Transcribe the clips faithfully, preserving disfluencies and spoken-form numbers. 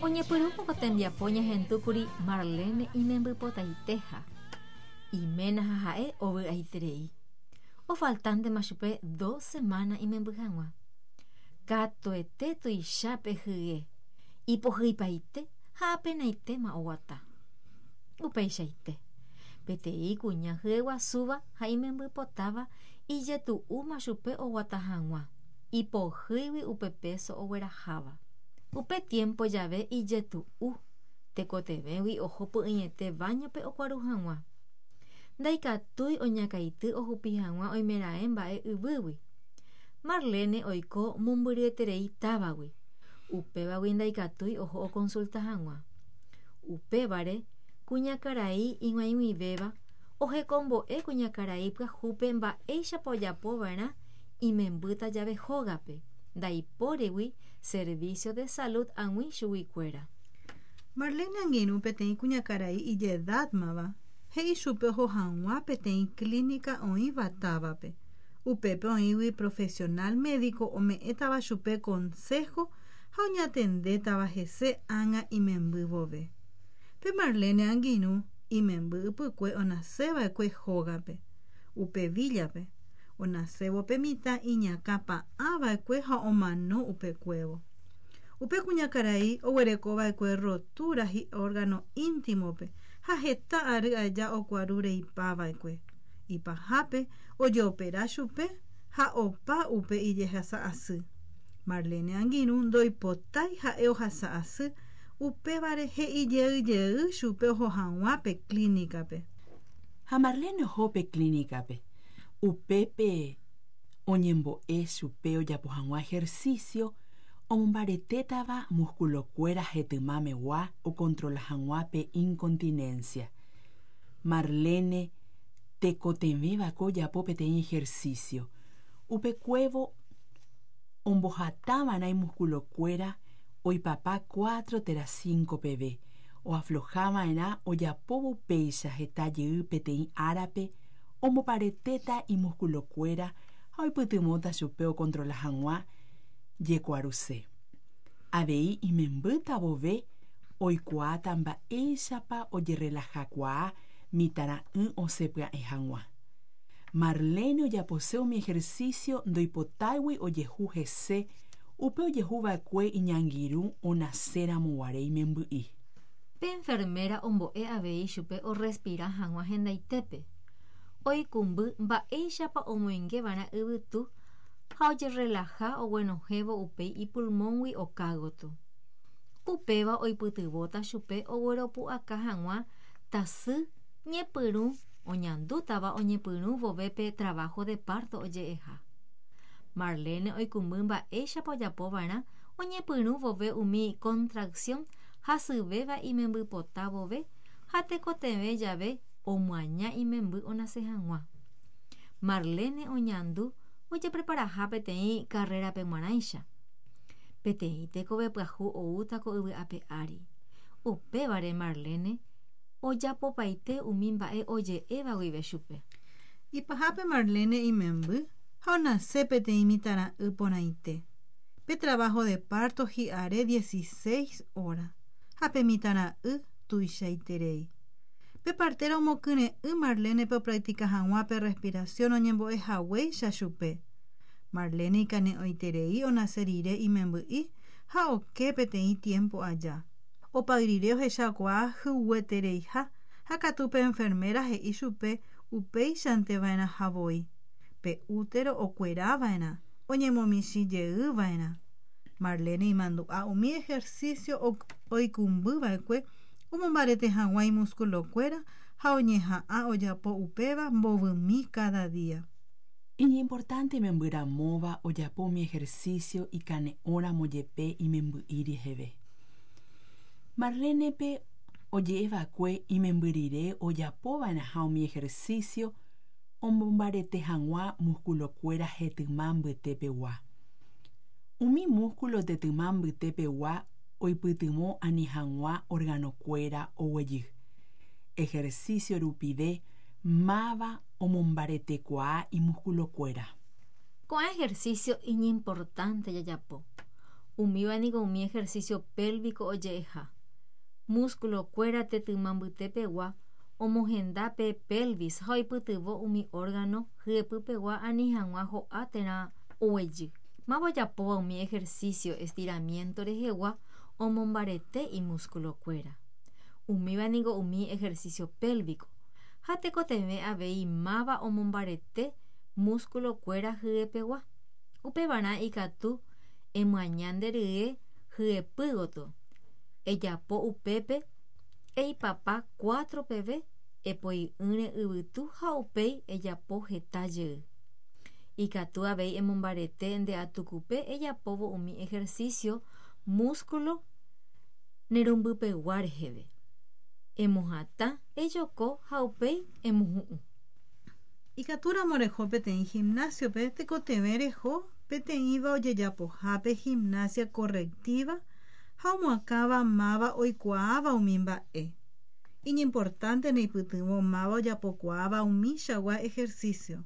Oñepyrũvo ko tembiapo ñahendúkuri Marlene imembypotaiteha. Iména ha ha'e ovy'aiterei. Ofaltántema chupe dos semana imemby hag̃ua. Katuete tuichápe hye, ipohyipaite ha apenaitéma oguata. Upeichaite. Peteĩ kuña hyeguasúva ha imembypotáva ijetu'úma chupe oguata hag̃ua. Ipohýigui upe peso ogueraháva. Upe tiempo jave ijetu'u, tekotevẽgui oho py'ỹiete baño-pe okuaru hag̃ua. Ndaikatúi oñakãity ohupi hag̃ua oimeraẽ mba'e yvýgui. Marlene oiko mombyryeterei távagui. Upévagui ndaikatúi oho oconsulta hag̃ua. Upévare kuñakarai ig̃uaig̃uivéva ohekombo'e kuñakarai pyahúpe mba'éichapa ojapova'erã imembýta jave hógape, ndaipórigui servicio de salud ag̃ui chuguikuéra. Marlene angirũ peteĩ kuñakarai ijedádmava he'i chupe oho hag̃ua peteĩ clínica oĩva távape. Upépe oĩgui profesional médico ome'ẽtava chupe consejo ha oñatendétava hese ág̃a imemby vove. Pe Marlene angirũ imemby ypykue onaseva'ekue hógape, upe villape. Onasévo pe mitã iñakãpa'ãva'ekue ha omano upekuévo. Upe kuñakarai oguerekova'ekue rotura hi'órgano íntimope ha heta ary aja okuaru reipava'ekue. Ipahápe ojeopera chupe ha opa upe ijehasa asy. Marlene angirũ ndoipotái ha'e ohasa asy upévare he'ijeyjey chupe oho hag̃ua pe clínicape. Ha Marlene oho pe clínicape. Upépe oñembo'e chupe ojapo hag̃ua ejercicio omombaretétava musculokuéra hetymamegua ocontrola hag̃ua pe incontinencia. Marlene tekotevẽva'ekue ojapo peteĩ ejercicio. Upekuévo ombohatava'erã imusculokuéra oipapa cuatro térã cinco peve. Oaflojava'erã ojapóvo upéicha heta jey peteĩ árape omboparetéta imusculokuéra ha oipytyvõta chupe ocontrola hag̃ua jekuaruse. Avei imembýta vove oikuaáta mba'éichapa ojerelajakuaa mitãra'y osẽpya'e hag̃ua. Marlene ojapose umi ejercicio ndoipotáigui ojehu hese upe ojehuva'ekue iñangirũ onaséramo guare imemby'i. Pe enfermera ombo'e avei chupe orespira hag̃ua hendaitépe. Oikũmby mba'éichapa omoingeva'erã yvytu ha ojerelaja oguenohẽvo upéi ipulmóngui okágoto. Upéva oipytyvõta chupe ogueropu'aka hag̃ua tasy ñepyrũ oñandútava oñepyrũ vove pe trabajo de parto oje'eha. Marlene oikũmby mba'éichapa ojapova'erã oñepyrũ vove umi contracción hasyvéva imembypota vove ha tekotevẽ jave omyaña imemby onase hag̃ua. Marlene oñandu ojepreparaha peteĩ carrerape g̃uarãicha. Peteĩ tekove pyahu oúta ko yvy ape ári. Upévare Marlene ojapopaite umi mba'e oje'éva guive chupe. Ipahápe Marlene imemby ha onase peteĩ mitãra'y porãite. Pe trabajo de parto hi'are dieciséis horas ha pe mitãra'y tuichaiterei. Pe partera omokyre'ỹ Marlenepe opractica hag̃ua pe respiración oñembo'e haguéicha chupe. Marlene ikane'õiterei onase rire imemby'i ha oke peteĩ tiempo aja. Opay rire ohechakuaa hyguetereiha ha katu pe enfermera he'i chupe upéichanteva'erãha voi. Pe útero okuerava'erã, oñemomichĩjeyva'erã. Marlene imandu'a umi ejercicio oikũmbyva'ekue omombarete hag̃ua imusculokuéra ha oñeha'ã ojapo upéva mbovymi cada día. Iñimportante membyramóva ojapo umi ejercicio ikane'õramo jepe imemby'i reheve. Marlenepe oje'eva'ekue imemby rire ojapova'erãha umi ejercicio omombarete hag̃ua musculokuéra hetyma mbytepegua. Umi músculo tetyma mbytepegua oipytyvõ ani hag̃ua organokuéra oguejy. Ejercicio rupive máva omombaretekuaa imusculokuéra. Ko'ã ejercicio iñimportante jajapo. Umíva niko umi ejercicio pélvico oje'eha. Músculo-kuéra tetyma mbytepegua omohenda pe pelvis ha oipytyvõ umi órgano hyepypegua ani hag̃ua ho'a térã oguejy. Máva ojapóva umi ejercicio estiramiento rehegua omombarete imúsculo-kuéra. Umíva niko umi ejercicio pélvico ha tekotevẽ avei máva omombarete músculo-kuéra hyepegua. Upevarã ikatu emyaña nde rye hyepy gotyo. Ejapo upépe eipapa cuatro peve epoi'ỹre yvytu ha upéi ejapo heta jey. Ikatu avei emombarete nde atukupe ejapóvo umi ejercicio músculo nerumbypegua reheve. Emohatã, ejoko ha upéi emohu'ũ. Ikatúramo reho peteĩ gimnasio-pe tekotevẽ reho peteĩva ojejapohápe gimnasia correctiva ha omoakãva máva oikuaáva umi mba'e. Iñimportante neipytyvõ máva ojapokuaáva umichagua ejercicio.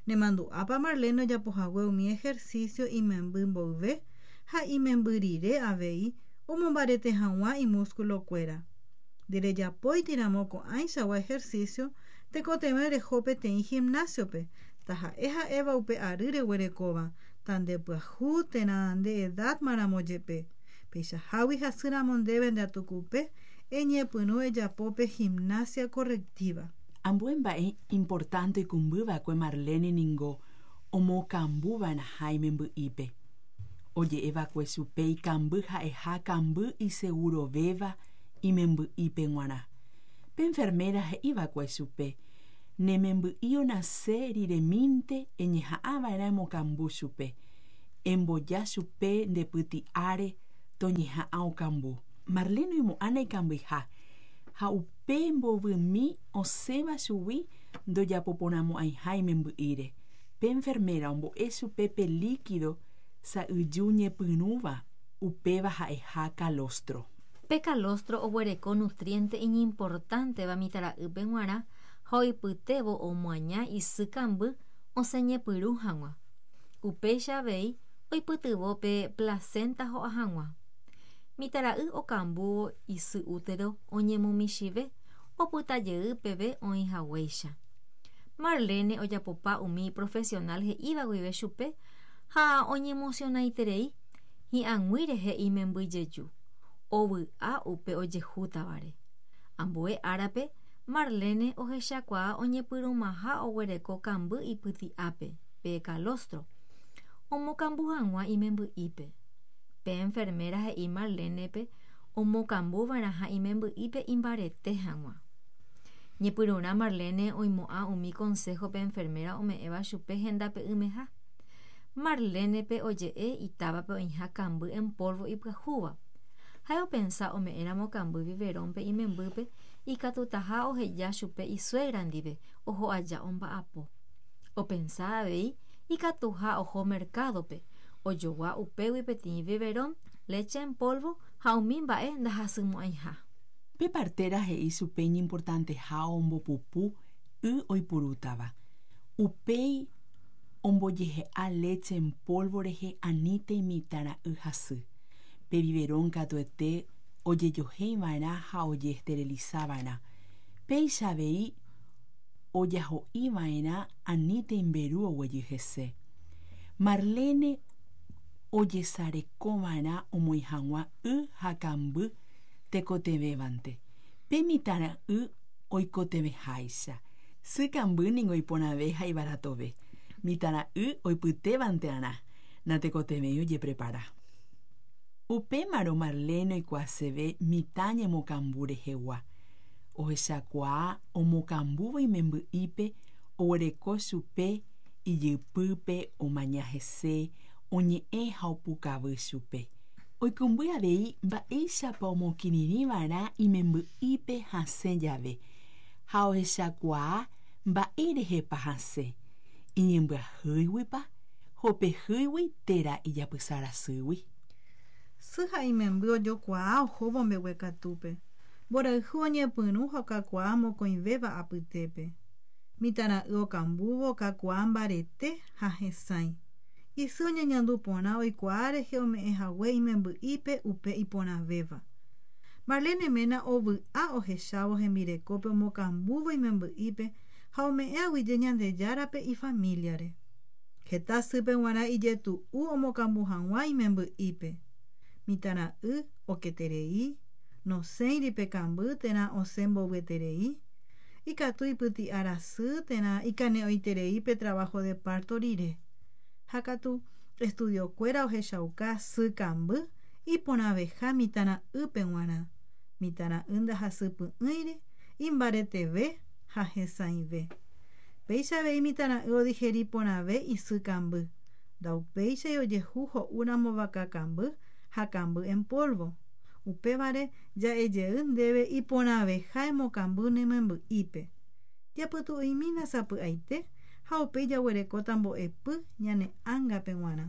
Nemandu'ápa Marlene ojapohague umi ejercicio imemby mboyve ha imemby rire avei omombarete hag̃ua imúsculo-kuéra. Nderejapóitiramo ko'ãichagua ejercicio tekotevẽ reho peteĩ gimnasio-pe taha'e ha'éva upe ary reguerekóva tandepyahu térã nde edad-maramo jepe. Peichahágui hasýramo ndéve nde atukupe eñepyrũ ejapo pe gimnasia correctiva. Ambue mba'e importante oikũmbyva'ekue Marlene ningo omokambuva'erãha imemby'ípe. Oje'eva'ekue chupe ikamby ha'eha kamby isegurovéva imemby'ípe g̃uarã. Pe enfermera he'iva'ekue chupe nememby'i onase riremínte eñeha'ãva'erã emokambu chupe. Emboja chupe ndepyti'áre toñeha'ã okambu. Marlene oimo'ã ikambyha ha upe mbovymi osẽva chugui ndojapoporãmo'ãiha imemby'íre. Pe enfermera ombo'e chupe pe líquido sa'yju ñepyrũva upéva ha'eha calostro. Pe calostro oguereko nutriente iñimportánteva mitãra'ýpe g̃uarã ha oipytévo omoaña isy kamby osẽñepyrũ hag̃ua. Upéicha avei oipytyvõ pe placenta ho'a hag̃ua. Mitãra'y okambúvo isy útero oñemomichĩve opytajey peve oĩhaguéicha. Marlene ojapopa umi profesional he'íva guive chupe ha oñemocionaiterei hi'ag̃ui rehe imembyjeju. Ovy'a upe ojehútavare. Ambue árape Marlene ohechakuaa oñepyrũmaha oguereko kamby ipyti'ápe pe calostro omokambu hag̃ua imemby'ípe. Pe enfermera he'i Marlenepe omokambuva'erãha imemby'ípe imbarete hag̃ua. Ñepyrũrã Marlene oimo'ã umi consejo pe enfermera ome'ẽva chupe hendape'ỹmeha. Marlenepe oje'e itávape oĩha kamby en polvo ipyahúva. Ha'e opensa ome'ẽramo kamby biberón-pe imembýpe ikatutaha oheja chupe isuegra ndive oho aja omba'apo. Opensa avei ikatuha oho mercado-pe ojogua upégui peteĩ biberón, leche en polvo ha umi mba'e ndahasymo'ãiha. Pe partera he'i chupe iñimportanteha ombopupu y oipurútava. Upéi ombojehe'a leche en polvo rehe anítei mitãra'y hasy. Pe biberón katuete ojejohéiva'erã ha ojeesterilizava'erã. Péicha avei ojaho'iva'erã anítei mberu oguejy hese. Marlene ojesarekova'erã omoĩ hag̃ua y ha kamby tekotevẽvante. Pe mitãra'y oikotevẽháicha. Sy kamby ningo iporãve ha ivaratove. Mitãra'y oipytévante'arã natekotevẽi ojeprepara. Upémarõ Marlene oikuaaseve mitã ñemokambu rehegua. Ohechakuaa omokambúvo imemby'ípe oguereko chupe ijypýpe omaña hese oñe'ẽ ha opukavy chupe. Oikũmby avei mba'éichapa omokirirĩva'erã imemby'ípe hasẽ jave ha ohechakuaa mba'érehepa hasẽ iñembyahýiguipa hopehýigui térã ijapysarasýgui. Sy ha imemby ojokuaa ohóvo mbeguekatúpe. Mborayhu oñepyrũ ha okakuaa mokõivéva apytépe. Mitãra'y okambúvo okakuaa mbarete ha hesãi. Isy oñeñandu porã oikuaa rehe ome'ẽhague imemby'ípe upe iporãvéva. Marlene ména ovy'a ohechávo hembirekópe omokambúvo imemby'ípe ha ome'ẽ aguyje Ñandejárape ifamíliare. Heta sýpe g̃uarã ijetu'u omokambu hag̃ua imemby'ípe. Mitãra'y oketerei, nosẽiri pe kamby térã osẽ mbovyeterei, ikatu ipyti'a rasy térã ikane'õiterei pe trabajo de parto rire. Ha katu estudiokuéra ohechauka sy kamby iporãveha mitãra'ýpe g̃uarã. Mitãra'y ndahasypy'ỹiri, imbareteve ha hesãive. Péicha avei mitãra'y odigeri porãve isy kamby. Ndaupéichai ojehu ho'úramo vaka kamby ha kamby en polvo. Upévare ja'ejey ndéve iporãveha emokamby ne memby'ípe. Japytu'u'imína sapy'aite ha upéi jaguerekóta mbo'epy ñane ángape g̃uarã.